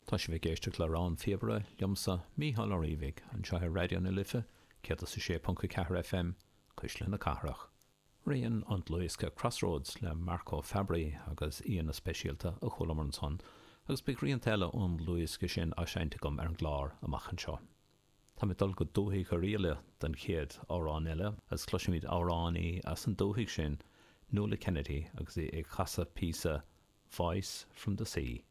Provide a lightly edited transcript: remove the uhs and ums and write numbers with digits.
Tá sibh ag éisteacht le Rann na Píobaire liomsa, Mícheál Ó Riabhaigh, anseo ar Raidió na Life 106.4 FM, Cuisle na Cathrach. Rian ón dlúthdhiosca Crossroads le Marco Fabbri agus aíonna speisialta a chualamar ansan agus beidh rianta eile ón ndlúthdhiosca sin á seinnt agam ar an gclár amach anseo. Táim ag dul go dúthaigh Oirialla don chéad amhrán eile agus cloisfimid amhránaí as an dúthaigh sin, Nuala Kennedy agus í ag casadh píosa Voice from the Sea.